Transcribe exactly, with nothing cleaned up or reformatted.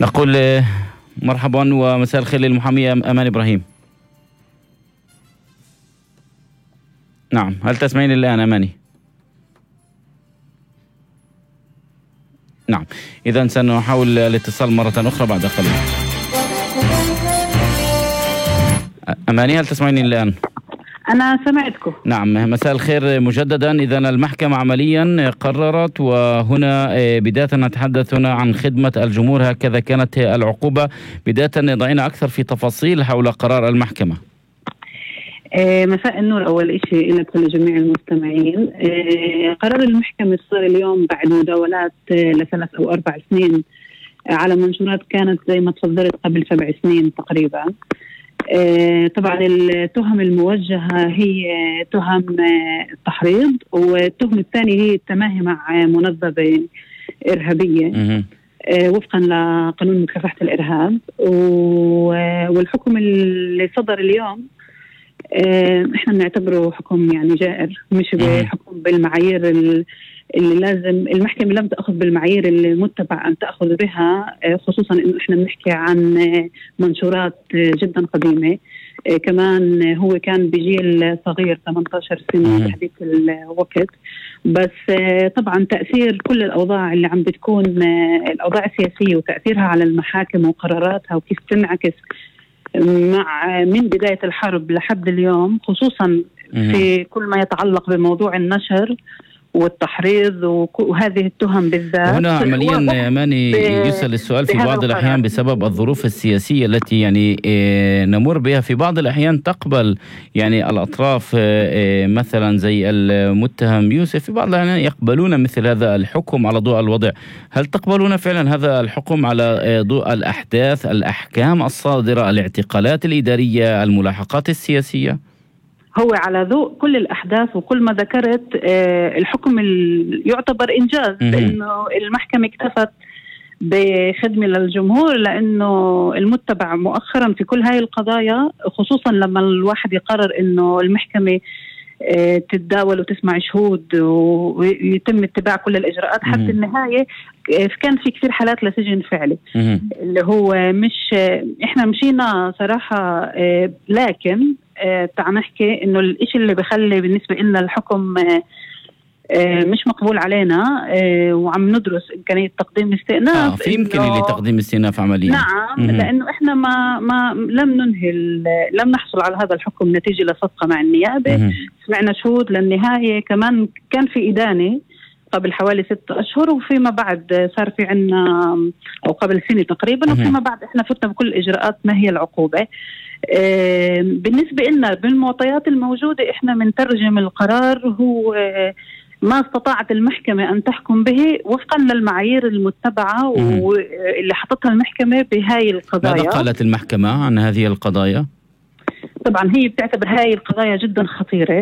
نقول مرحبا ومساء الخير للمحامية أمان إبراهيم. نعم، هل تسمعين الآن أماني؟ نعم، إذن سنحاول الاتصال مرة أخرى بعد قليل. أماني، هل تسمعيني الآن؟ أنا سمعتكم. نعم، مساء الخير مجددا. إذن المحكمة عمليا قررت، وهنا بداية نتحدث هنا عن خدمة الجمهور، هكذا كانت العقوبة. بداية ضعينا أكثر في تفاصيل حول قرار المحكمة. آه مساء النور. أول إشي لك ولجميع المستمعين. آه قرار المحكمة صار اليوم بعد مداولات آه لثلاث أو أربع سنين آه على منشورات كانت زي ما تفضلت قبل سبع سنين تقريبا. آه طبعا التهم الموجهة هي تهم آه التحريض، والتهم الثاني هي التماهي مع منظمة إرهابية آه وفقا لقانون مكافحة الإرهاب. والحكم اللي صدر اليوم احنا بنعتبره حكم يعني جائر، مش بحكم بالمعايير اللي لازم المحكمة لم تأخذ بالمعايير اللي متبع أن تأخذ بها، خصوصا إنه احنا بنحكي عن منشورات جدا قديمة. كمان هو كان بجيل صغير ثمانية عشر سنة بحديث الوقت. بس طبعا تأثير كل الأوضاع اللي عم بتكون الأوضاع السياسية وتأثيرها على المحاكم وقراراتها وكيف تنعكس مع من بداية الحرب لحد اليوم، خصوصا في كل ما يتعلق بموضوع النشر والتحريض وهذه التهم بالذات. هنا عمليا أماني يسأل السؤال في بعض الأحيان بسبب الظروف السياسية التي يعني نمر بها. في بعض الأحيان تقبل يعني الأطراف مثلا زي المتهم يوسف، في بعض الأحيان يقبلون مثل هذا الحكم على ضوء الوضع. هل تقبلون فعلا هذا الحكم على ضوء الأحداث، الأحكام الصادرة، الاعتقالات الإدارية، الملاحقات السياسية؟ هو على ضوء كل الأحداث وكل ما ذكرت آه الحكم يعتبر إنجاز، لأنه المحكمة اكتفت بخدمة للجمهور، لأنه المتبع مؤخرا في كل هاي القضايا، خصوصا لما الواحد يقرر أنه المحكمة آه تتداول وتسمع شهود ويتم اتباع كل الإجراءات حتى النهاية. آه كان في كثير حالات لسجن فعلي اللي هو مش آه إحنا مشينا صراحة، آه لكن آه تعال نحكي إنه الإشي اللي بخلي بالنسبة لنا الحكم آه آه مش مقبول علينا، آه وعم ندرس إمكانية تقديم استئناف. آه في إمكانية لتقديم استئناف عمليا. نعم، مم. لأنه إحنا ما ما لم ننهي لم نحصل على هذا الحكم نتيجة لصفقة مع النيابة. مم. سمعنا شهود للنهاية، كمان كان في إدانة قبل حوالي ستة أشهر، وفيما بعد صار في عنا أو قبل سنة تقريبا، وفيما بعد إحنا فتنا بكل الإجراءات ما هي العقوبة. آه بالنسبة لنا بالمعطيات الموجودة إحنا منترجم القرار هو آه ما استطاعت المحكمة أن تحكم به وفقا للمعايير المتبعة واللي حطتها المحكمة بهاي القضايا. ماذا قالت المحكمة عن هذه القضايا؟ طبعا هي بتعتبر هاي القضايا جدا خطيرة،